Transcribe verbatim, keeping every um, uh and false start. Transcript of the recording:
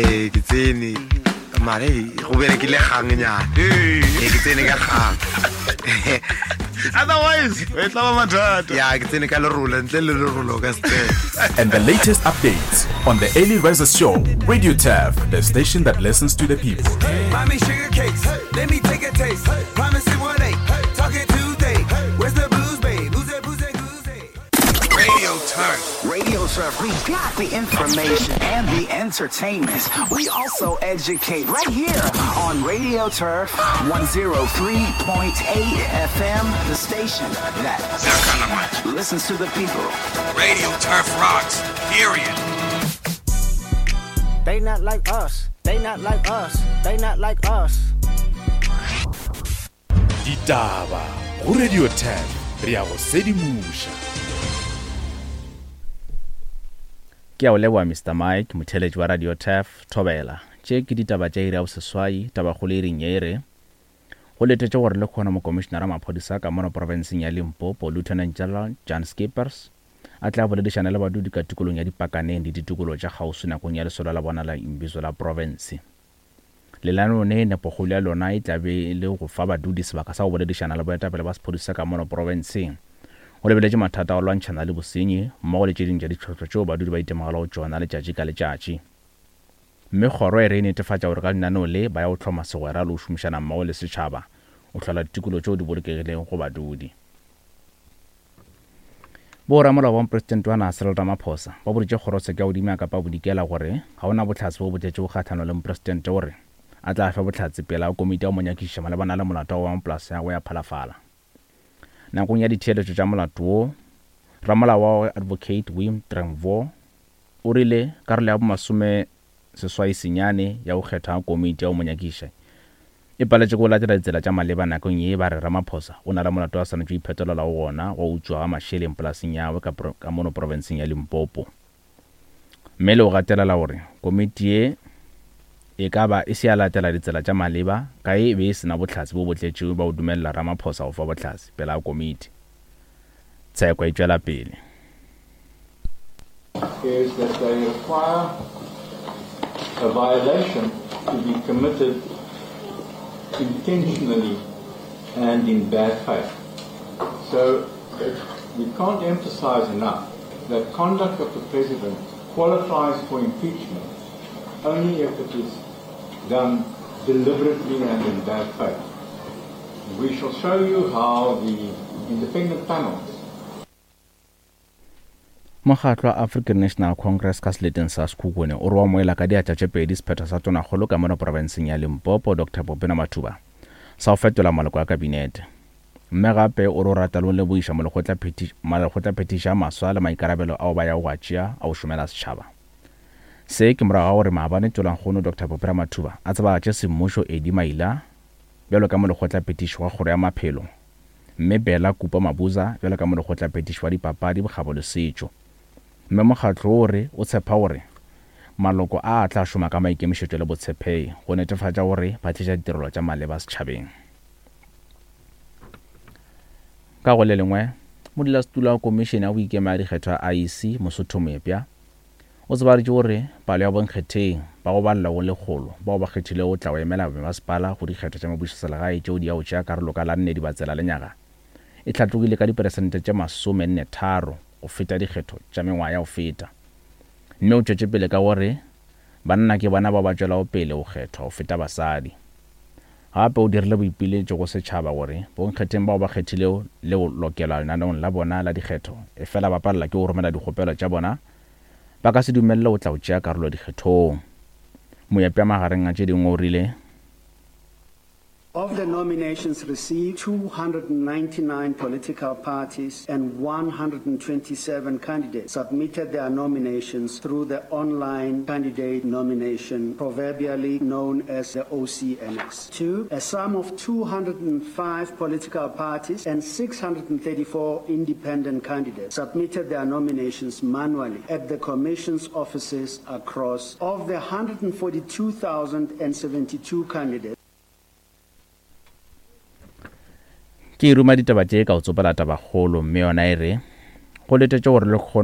Ee, ke tsene mare go berekile gangnyana. Ee, ke tsene ka gang. Otherwise e tla ba mathata. Ya, ke tsene ka lerolo, ntle le lerolo o ka se tsene. And the latest updates on the Early Riser Show, Radio Turf, the station that listens to the people. Mommy sugar cakes, let me take a taste. Promise it one eight, talking Tuesday. Where's the booze, babe? Who's that, booze, that, goose, Radio Turf. Radio Turf, we got the information and the entertainment. We also educate right here on Radio Turf one oh three point eight F M, the station that listens to the people. Radio Turf rocks, period. They not like us. They not like us. They not like us. Ditaba go Radio Turf, re ya go sedimoša. Ke a o leboha Mister Mike, motheeletši wa Radio Turf, Thobela. Tše ke ditaba tša iri ya boseswai, tabakgolo e reng ye e re go letetše gore le kgona mokomišenara maphodisa ka mono profenseng ya Limpopo, Lieutenant General Jan Skippers, a tla boledišana le badudi ka tikolong ya Dipakaneng le ditikolo tša kgauswi nakong ya lesolo la bona la imbizo la profense. Lenaneo ne nepokgolo ya lona e tla be e le go fa badudi sebaka sa go boledišana le boetapele ba sephodisa ka mono profenseng go lebeletše mathata a go lwantšhana le bosenyi mmogo le tše dingwe tša ditlhohlo tšeo badudi ba itemogelago tšona letšatši ka letšatši. Mme kgoro e re e netefatša gore ka lenaneo le ba ya go hloma segwera le go šomišana mmogo le setšhaba go hlola ditikolo tšeo di bolokegilego go badudi. Boramolao ba mopresidente wa naga Cyril Ramaphosa ba boditše kgorotsheko ya godimo ya Kapa Bodikela gore ga ona bohlatse bo bo tletšego kgahlanong le mopresidente gore a tla fe bohlatse pele ga komiti ya go mo nyakišiša malebana le molato wa go ba mopolase ya gagwe ya Phalafala. Nakong ya ditheeletšo tša molato wo, ramolao wa gagwe Advocate Wim Trengvoor o rile karolo ya bomasome seswai senyane ya go kgethwa ga komiti ya go mo nyakišiša e paletše ke go latela ditsela tša maleba nakong ye ba re Ramaphosa o na le molato a swanetše go iphetolela go gona go utswa ga mašeleng polaseng ya gagwe ka, ka mono profenseng ya Limpopo. Mme le go gatelela gore komiti ye e ka ba e se ya latela ditsela tša maleba ka e be e sena bohlatse bo bo tletšego ba go dumelela Ramaphosa go fa bohlatse pele ga komiti. Tsheko e tšwela pele. Is that they require a violation to be committed intentionally and in bad faith. So it, we can't emphasize enough that conduct of the president qualifies for impeachment only if it is done deliberately and in bad faith. We shall show you how the independent panels. Mokgatlo wa African National Congress ka seleteng sa Sekhukhune o re wa moela ka diatla tše pedi sephetho sa tonakgolo ka mono profenseng ya Limpopo Doctor Popina Matuba sa go fetola maloko a kabinete. Mme gape o re o rata le go lebogiša malekgotlaphethiši a maswa le maikarabelo ao ba yago go a tšea a go šomela setšhaba. Se ke morago ga gore maabane Tolankgono Doctor Popina Matuba a tsebagatše semmušo Eddie Maila bjalo ka molekgotlaphethiši wa kgoro ya maphelo, mme Bella Kupa Mabuza bjalo ka molekgotlaphethiši wa dipapadi, bokgabo le setšo. Mme mokgatlo o re o tshepa gore maloko a a tla šoma ka maikemišetšo le botshepegi go netefatša gore ba tliša ditirelo tša maleba setšhabeng. Ka go le lengwe, modulasetulo wa komišene ya boikemo ya dikgetho ya I E C Mosotho Moepya o tsebaditše gore palo ya bonkgetheng ba go balela go lekgolo bao ba kgethilego go tla go emela bomasepala go dikgetho tša mebušoselegae tšeo di ya go tšea karolo ka la nne Dibatsela lenyaga e hlatlogile ka diperesente tše masomenne tharo go feta dikgetho tša mengwaga ya go feta. Mme o tšwetše pele ka gore banna ke bona bao ba tšwelago pele go kgethwa go feta basadi. Gape o dirile boipiletšo go setšhaba gore bonkgetheng bao ba kgethilego le go lokelwa lenaneong la bona la dikgetho efela ba palela ke go romela dikgopelo tša bona ba ka se dumelele go tla go tšea karolo dikgethong. Moepya magareng a tše dingwe o rile Of the nominations received, two hundred ninety-nine political parties and one hundred twenty-seven candidates submitted their nominations through the online candidate nomination, proverbially known as the O C N S. Two, a sum of two hundred five political parties and six hundred thirty-four independent candidates submitted their nominations manually at the Commission's offices across. Of the hundred forty-two thousand seventy-two candidates, Ke ruma ditaba tše ka o tsopela tabakgolo, mme yona e re go letetše gore le kgone